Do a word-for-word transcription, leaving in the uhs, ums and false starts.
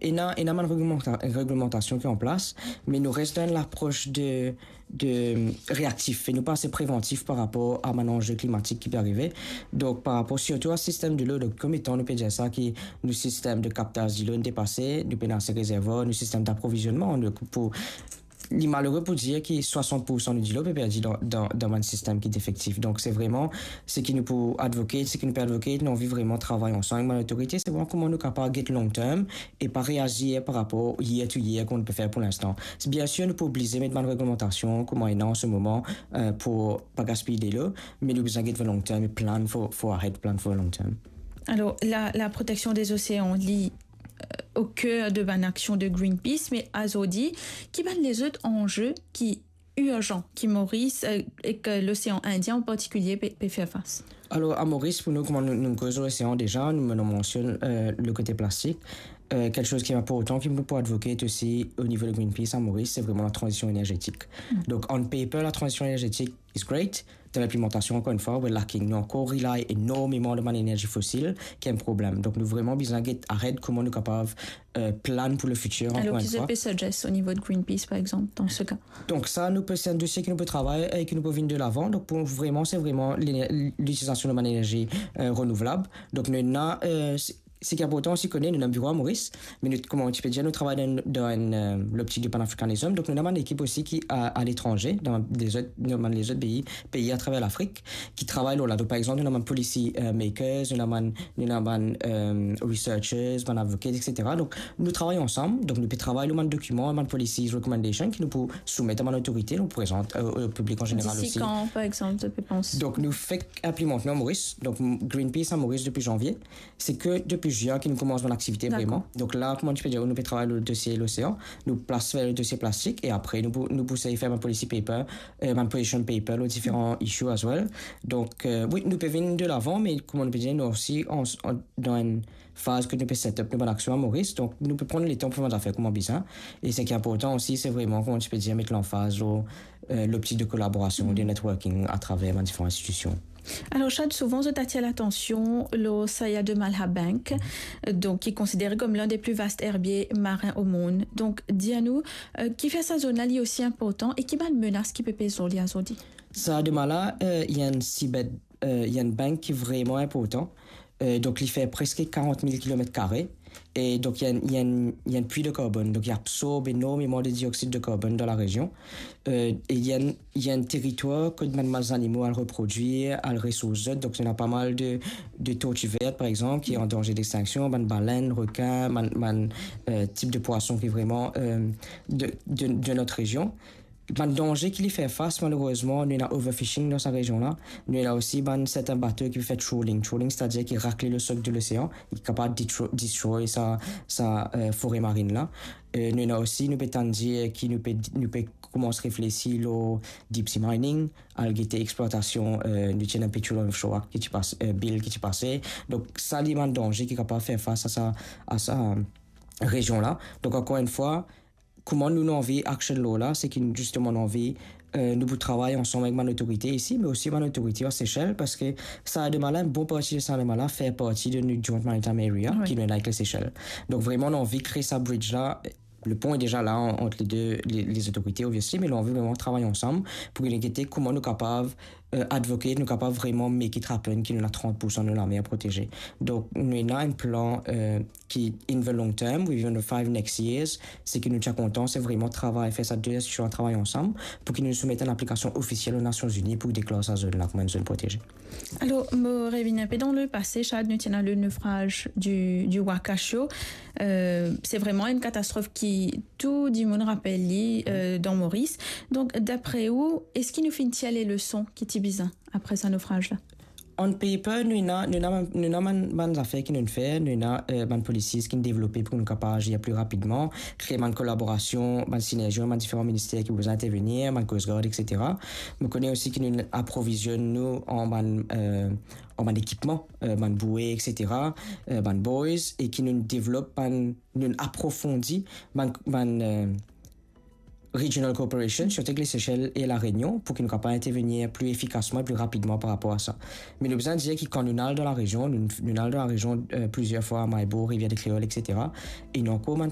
Ena, ena bann reglemanta-, reglementasion ki an plas, me nou res dan lapros de, de reaktif, e nou pa ase prevantif par rapor a bann anze klimatik ki pe arive. Donk, par rapor sirtou a sistem dilo, donk, kouma nou pe dir sa, ki nou sistem de kaptaz dilo inn depase, nou pena ase rezervwar, nou sistem daprovizionman, nou pou, li malere pou dir ki swasant poursan nou dilo pe perdi dan, dan, dan bann sistem ki defektif. Donk, se vreman, seki nou pou advocate, seki nou pe advocate, nou anvi vreman travay ansam avek bann lotorite, se vreman kouma nou kapav get long term e pa reazir par rapor year to year kouma nou pe fer pou linstan. Biensir, nou pou oblize met bann reglementasion kouma ena an se moman, eh, pou pa gaspiy delo, me nou bizin get long term e plan for, for ahead, plan for long term. Alor, la, la proteksion de losean, li, eh, o ker de bann aksion de Greenpeace, me azordi, ki bann lezot anze ki irzan ki Moris, eh, ek Losean Indien an partikilie pe, pe fer fas? Alor, a Moris, pou nou, kouma nou, nou koz losean deza, nou, nou mansionn, eh, le kote plastik. Eh, kiksoz ki inportan ki nou pou advocate osi o nivo de Greenpeace a Moris, se vreman la tranzision energetik. Donk, on paper, la tranzision energetik is great. Dan linplimantasion, ankor enn fwa, we're lacking. Nou ankor rely enormeman lor bann enerzi fosil, ki enn problem. Donk, nou vreman bizin get ahead kouma nou kapav, eh, plan pou lefitir, ankor enn fwa. Alor, ki zot pe suggest o nivo de Greenpeace, par exanp, dan se ka? Donk, sa, nou pe, se enn dosie ki nou pe travay e ki nou pe vinn de lavan. Donk, pou vreman, se vreman lene-, litilizasion de bann enerzi, eh, renouvlab. Donk, nou ena, eh, se, seki inportan osi kone, nou ena biro a Moris, me nou, kouma ti pe dir, nou travay dan, dan enn, eh, loptik de panafrikanism. Donk, nou ena bann ekip osi ki a, a letranze, dan lezot, dan bann lezot pei, pei atraver Lafrik, ki travay lor la. Donk, par exanp, nou ena bann policy, eh, makers, nou ena bann, nou ena bann, eh, researchers, bann advocates, et cetera. Donk, nou travay ansam. Donk, nou pe travay lor bann dokiman, bann policies, recommendation ki nou pou soumet a bann lotorite, nou prezant, eh, o piblik an zeneral osi. Disi kan, par exanp, zot pe panse? Donk, nou fek inplimant nou a Moris. Donk, Greenpeace a Moris depi zanvie. Se ke depi zin ki nou koumans bann aktivite. Dakor. Vreman. Donk la, kouma ti pe dir, nou pe travay lor dosie losean, nou plas fer le dosie plastik, e apre, nou pou, nou pou sey fer bann policy paper, eh, bann position paper, lor diferan issue as well. Donk, eh, wi, nou pe vinn de lavan, me kouma nou pe dir, nou osi an, an, dan enn faz ke nou pe set up nou bann aksion a Moris. Donk, nou pe pran letan pou fer bann zafer kouma bizin. E seki inportan osi, se vreman, kouma ti pe dir, met lanfaz lor, eh, loptik de kolaborasion, de networking atraver bann diferan institision. Alor, Chad, souvan zot atir latansion lor Saya de Malha Bank, donk ki konsidere kom linn de pli vas erbier marin o mond. Donk, dir nou, eh, kifer sa zone la li osi inportan e ki bann menas ki pe pez lor li azordi? Saya de Malha, eh, li enn seabed, eh, li enn bank ki vreman inportan. Eh, donk, li fer preske karant mil kilomet kare. E donk, li enn, li enn, li enn pui de karbonn. Donk, li absorb enormeman de dioxyde de carbone dan larezion. Eh, e li enn, li enn teritwar kot bann zanimo al reprodwir, al resours zot. Donk, ena pa mal de, de tortue verte, par exanp, ki an danze dextinksion, bann balenn, rekin, bann, bann, eh, tip de pwason ki vreman, eh, de, de, de not rezion. Bann danze ki li fer fas, malerezman, nou ena overfishing dan sa rezion la. Nou ena osi bann sertin bato ki fer trawling. Trawling, setadir ki rakle le sok de losean, ki kapav detro-, destroy sa, sa, eh, fore marinn la. Eh, nou ena osi, nou pe tann dir ki nou pe, nou pe koumans reflesi lor deep sea mining, al gete explwatasion, eh, nou ti ena petrol offshore ki ti pas-, eh, bill ki ti pase. Donk, sa li bann danze ki kapav fer fas a sa, a sa, eh, rezion la. Donk, ankor enn fwa, kouma nou, nou anvi action lor la, seki nou, zisteman, nou anvi, eh, nou pou travay ansam avek bann lotorite isi, me osi bann lotorite a Sesel, parski Saya de Malha, bon parti de Saya de Malha fer parti de nou Joint Maritime Area, wi, ki nou ena avek Lesesel. Donk, vreman, nou anvi kre sa bridge la. Le pon li deza la an-, ant le de, le, lezotorite, obviously, me nou anvi vreman travay ansam pou nou gete kouma nou kapav, eh, advocate, nou kapav vreman make it happen, ki nou ena trant poursan de nou lamer proteze. Donk, nou ena enn plan, eh, ki in the long term, within the five next years, seki nou ti a kontan, se vreman travay, fer sa de institision travay ansam, pou ki nou soumet enn aplikasion ofisiel o Nasion Zini pou deklar sa zone la kouma enn zone proteze. Alor, mo revinn inpe dan lepase, Chad, nou ti ena le nofraz di, di Wakashio. Eh, se vreman enn katastrof ki tou dimoun rapel li, eh, dan Moris. Donk, dapre ou, eski nou finn tir leson ki ti bizin apre sa nofraz la? On paper, nou ena, nou ena, nou ena bann, bann zafer ki nou fer, nou ena, eh, bann policies ki nou devlope pou nou kapav azir pli rapidman, kre bann kolaborasion, bann sinerzi, bann diferan minister ki bizin intervenir, bann Coast Guard, et cetera. Mo kone osi ki nou aprovizionn nou an bann, eh, an bann ekipman, eh, bann boue, et cetera, eh, bann buoys, e ki nou devlop bann, nou aprofondi bann, bann, eh, regional cooperation, sirtou avek Lesesel e La Réunion, pou ki nou kapav intervenir pli efikasman e pli rapidman par rapor a sa. Me nou bizin dir ki kan nou al dan larezion, nou, nou al dan larezion, euh, plizier fwa, Mahe Bourg, Rivière de Créole, et cetera. E nou ankor bann